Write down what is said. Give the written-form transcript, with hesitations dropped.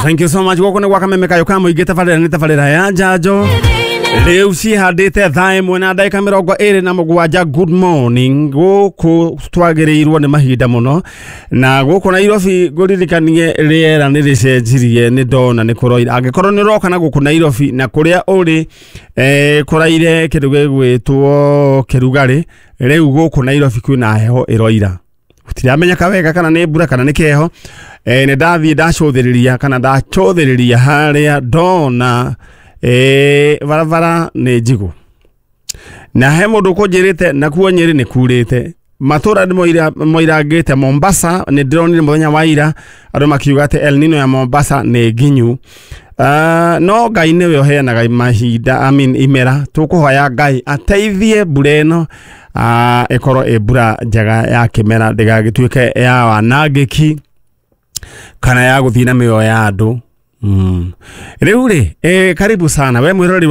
Thank you so much. Gũkũ nĩ gwa Kameme Kayũ ka Mũingĩ, tabarĩra nĩ tabarĩra ya njanjo. Rĩu cihandĩte 1:27. Good morning. Gũkũ twagĩrĩirwo nĩ mahinda mũno, na gũkũ Nairobi ngũririkanie rĩera nĩ rĩcenjirie, nĩ ndona nĩ kũroira. Angĩkorwo nĩ ũroka na gũkũ Nairobi na kũrĩa ũrĩ kũraire kĩndũ gĩgwĩtwo kĩrugarĩ, rĩu gũkũ Nairobi kwĩna heho ĩroira, gũtiramenyeka wega kana nĩ mbura kana nĩ kĩheho. Nĩ ndathiĩ ndacũthĩrĩria kana ndacũthĩrĩria harĩa ndona barabara nĩ njigũ, na he mũndũ ũkũnjĩrĩte nakuo Nyĩrĩ nĩ kurĩte, matũra nĩ moirangĩte. Mombasa nĩ ndĩronire mũthenya wa ira andũ makiuga atĩ El Nino ya Mombasa nĩ nginyu. No Ngai nĩwe ũheanaga mahinda, I mean, imera. Tũkũhoya Ngai ateithie mbura ĩno ĩkorwo ĩ mbura njega ya kĩmera, ndĩgagĩtuĩke ya wanangĩki kana ya gũthiĩ na mĩoyo ya andũ. Rĩu rĩ, karibu sana we mwĩroreri.